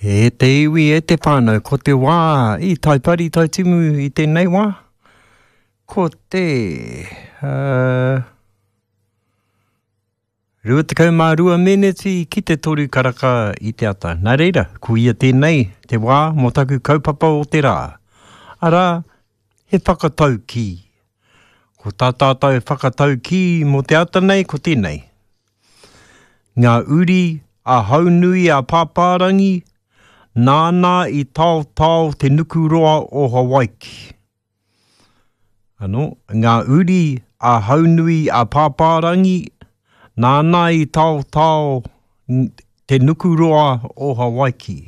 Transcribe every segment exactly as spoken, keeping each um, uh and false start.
E te iwi, e te whānau, ko te wā i Taipari, Taitimu i tēnei wā, ko te uh, rua tekau mā rua meneti ki te toru karaka i te ata. Nā reira, ko ia tēnei te wā mō taku kaupapa o te rā. Arā, he whakataukī. Ko tā tātou whakataukī mō te ata nei, ko tēnei. Ngā uri a Haunui a Pāpārangi, nāna i taotao te nukuroa o Hawaiki. Anō, ngā uri a Haunui a Pāpārangi, nāna i taotao te nukuroa o Hawaiki.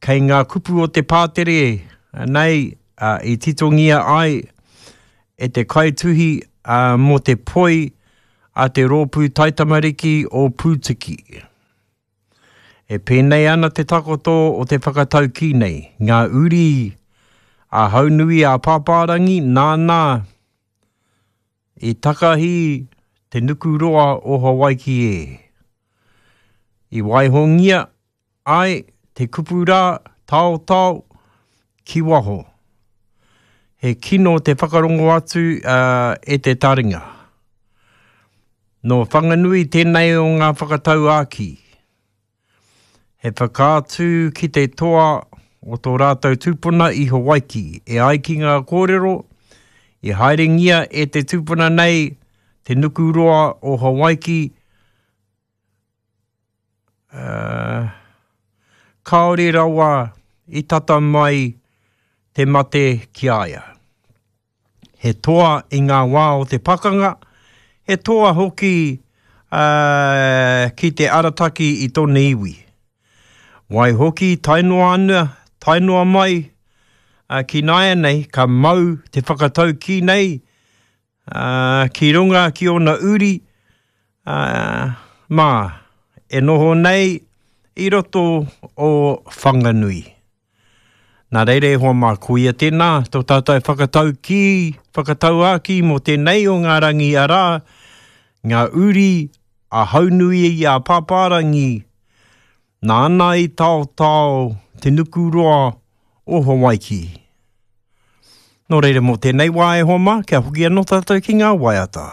Kei ngā kupu o te pātere nei i titongia ai e te kaituhi mō te poi a te rōpū taitamariki o Pūtiki. E pēnei ana te takoto o te whakataukī nei, ngā uri a Haunui a Pāpārangi nāna i takahi te nukuroa o Hawaiki e. I waihongia ai te kupu rā taotao ki waho. He kino te whakarongo atu uh, e te taringa. Nō Whanganui tēnei o ngā whakatauākī. He whakaatu ki te toa o tō rātou tūpuna i Hawaiki. E ai ki ngā kōrero, i haerengia e te tūpuna nei te nukuroa o Hawaiki, uh, kāore rawa i tata mai te mate ki a ia. He toa i ngā wā o te pakanga, he toa hoki uh, ki te arataki i tōna iwi. Waihoki tae noa ana, tae noa mai uh, ki nāianei, ka mau te whakataukī nei uh, ki runga ki ōna uri uh, mā e noho nei i roto o Whanganui. Nā reira e hoa mā, ko ia tēnā, tō tātou whakataukī, whakatauākī mō tēnei o ngā rangi arā, ngā uri a Haunui i a Pāpārangi, nāna i taotao te nukuroa o Hawaiki. Nō reira mō tēnei wā e hoa mā, kia hoki anō tātou ki ngā waiata.